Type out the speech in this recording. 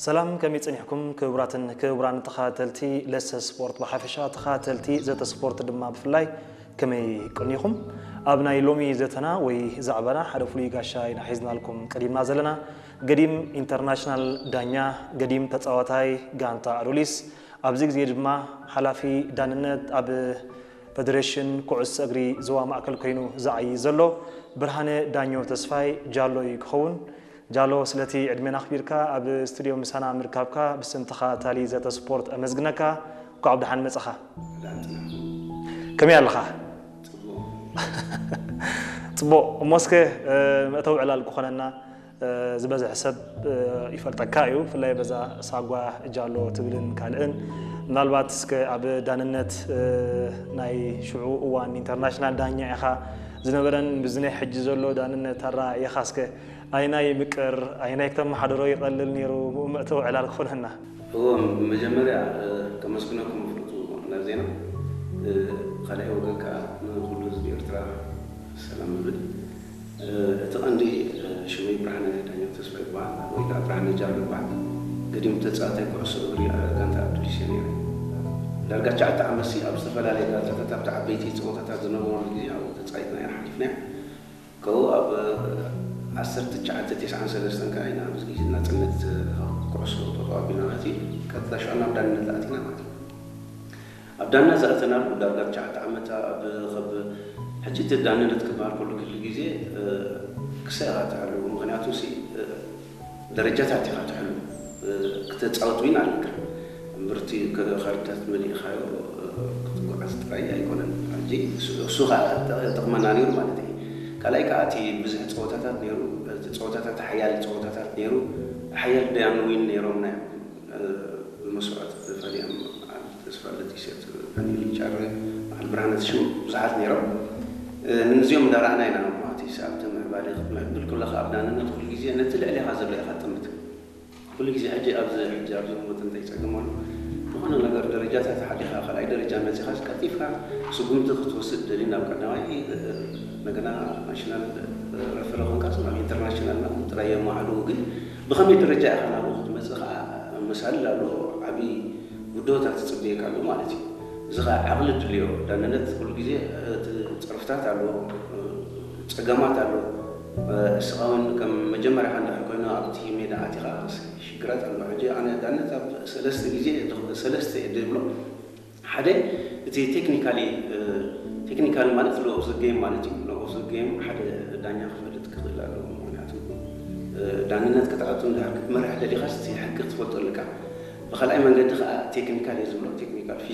ሰላም፣ ከመይ ጸኒሕኩም ክቡራትን ክቡራን ተኸታተልቲ ለሰ ስፖርት ብሓፈሻ፣ ተኸታተልቲ ዘተ ስፖርት ድማ ብፍላይ ከመይ ቀኒኹም? ኣብ ናይ ሎሚ ዘተና ወይ ዛዕባና ሓደ ፍሉይ ጋሻ ኢና ሒዝናልኩም ቀሪብና ዘለና። ገዲም ኢንተርናሽናል ዳኛ፣ ገዲም ተጻዋታይ ጋንታ ኣዶሊስ፣ ኣብዚ ግዜ ድማ ሓላፊ ዳንነት ኣብ ፈደሬሽን ኩዕሶ እግሪ ዞባ ማእከል ኮይኑ ዝዓዪ ዘሎ ብርሃነ ዳኘው ተስፋይ ጃሎ እዩ ክኸውን። ጃሎ፣ ስለቲ ዕድሜና ኣኽቢርካ ኣብ ስቱድዮ ምሳና ምርካብካ ብስም ተኸታታሊ ዘተ ስፖርት ኣመስግነካ። እንኳዕ ብደሓን መጻኻ። ከመይ ኣለኻ? ጽቡቕ። እሞ እስከ፣ እ፣ መእተዊ ዕላል ክኾነና፣ እ፣ ዝበዝሕ ሰብ፣ እ፣ ይፈልጠካ እዩ፣ ብፍላይ በዛ ሳጓ ጃሎ ትብልን ካልእን። ምናልባት እስከ ኣብ ዳንነት፣ እ፣ ናይ ሽዑ እዋን ኢንተርናሽናል ዳኛ ኢኻ፣ ዝነበረን ብዚ ናይ ሕጂ ዘሎ ዳንነት ኣረኣእያኻ እስከ ኣይናይ ምቅር፣ ኣይናይ ክተመሓድሮ ይቐልል ነይሩ፣ ብኡ መእተዊ ዕላል ክኾነና። እዎ፣ መጀመርያ፣ እ፣ ከመስግነኩም ፍርቱ ናብ ዜና፣ እ፣ ካልኣይ ወገን ከኣ ንኹሉ ህዝቢ ኤርትራ ሰላም እብል። እ፣ እቲ ቀንዲ፣ እ፣ ሽመይ ብርሃነ ዳኛው ተስፋ ይበሃል፣ ወይ ከኣ ብርሃነ ጃሎ ይበሃል። ገዲም ተጻዋታይ ኩዕሶ እግሪ፣ እ፣ ጋንታ ኣዱሊስ እየ ነይረ። ዳርጋ ትሽዓተ ዓመትሲ ኣብ ዝተፈላለየ ጋንታታት፣ ኣብቲ ዓበይቲ ጸወታታት ዝነበሩ ግዜ ኣብኡ ተጻዊትና ኢና ሓሊፍና። ካብኡ ኣብ ዓሰርተ ትሽዓተ ተስዓን ሰለስተን ከኣ ኢና ኣብዚ ግዜ ናጽነት ኩዕሶ ጦጦ ኣቢልና ማለት እዩ። ቀጥታ ሽዑ ናብ ዳንነት ኣቲና ማለት እዩ። ኣብ ዳንነት ዝኣተናሉ ዳርጋ ትሽዓተ ዓመት ኣብ፣ ካብ ሕጂ እቲ ዳንነት ክበሃል ከሎ ኩሉ ግዜ፣ እ፣ ክሳይ ኢኻ ትሕሉ። ምኽንያቱ ሲ፣ እ፣ ደረጃታት ኢኻ ትሕሉ። እ፣ ክተጻወት ዊን ኣለካ። እምብርቲ ከ-፣ ካርድታት መሊእኻዮ፣ እ፣ ክትጓዓዝ ጥራይ ኣይኮነን። ሕጂ እሱ፣ እሱ ኸኣ ጠ-፣ ጠቕመና ነይሩ ማለት እዩ። ካልኣይ ከኣ እቲ ብዙሕ ጸወታታት ነይሩ። እቲ ጸወታታት ሓያል ጸወታታት ነይሩ። ሓያል ዳያን ዊን ነይሮምና እዮም። እ፣ ብመስዋእቲ ፈሊኦም በዓል ተስፋ ለጢሴት፣ ዳንኤል ጫረ፣ በዓል ብርሃነ ሽሙ ብዙሓት ነይሮም። እ፣ ንዚኦም እንዳረኣና ኢና ማለት እዩ። ኣብቲ ምዕባለ ክትምዕብል ከለኻ ኣብ ዳንነት ኩሉ ግዜ ነቲ ልዕሌኻ ዘሎ ኢኻ ትጥምት። ኩሉ ግዜ ሕጂ ኣብዚ፣ ሕጂ ኣብዚ እምነት እንታይ ይጸገም ኣሎ? ዝኾነ ነገር ደረጃታት ሓሊኻ ካልኣይ ደረጃ መጺኻስ ቀልጢፍካ ስጉምቲ ክትወስድ ደሊ ናብ ቀዳማይ፣ እ፣ እንደገና ናሽናል፣ እ፣ ረፈሪ ኮንካስ ናብ ኢንተርናሽናል ናብ ጥራይ የማዕልኡ። ግን ብኸመይ ደረጃ ኢኻ ናብኡ ክትመጽእ ኸኣ መሳልል ኣለዎ። ዓቢ ውድሆታት ትጽበየካ ኣሎ ማለት እዩ። እዚ ኸኣ ዓቕሊ ድልዮ። ዳንነት ኩሉ ግዜ፣ እ፣ እቲ ጸርፍታት ኣለዎ፣ እ፣ ጸገማት ኣለዎ። እ፣ እስኻ እውን ከም መጀመርያኻ እንድሕር ኮይኑ ኣብቲ ሜዳ ኣቲኻ ሽግራት ኣለዎ። ሕጂ ኣነ ዳነት ኣብ ሰለስተ ግዜ፣ ሰለስተ እየ ድብሎ። ሓደ እቲ ቴክኒካሊ፣ እ፣ ቴክኒካሊ ማለት ሎ ኦፍ ዘ ጌም ማለት እዩ። ሎ ኦፍ ዘ ጌም ሓደ ዳኛ ክፈልጥ ክኽእል ኣለዎ። ምኽንያቱ፣ እ፣ ዳንነት ክትኣቱ እንድሕር ክትመርሕ ደሊኻስ እቲ ሕጊ ክትፈልጦ ኣለካ። ብኻልኣይ መንገዲ ኸኣ ቴክኒካል እየ ዝብሎ፣ ቴክኒካል ፊዚካል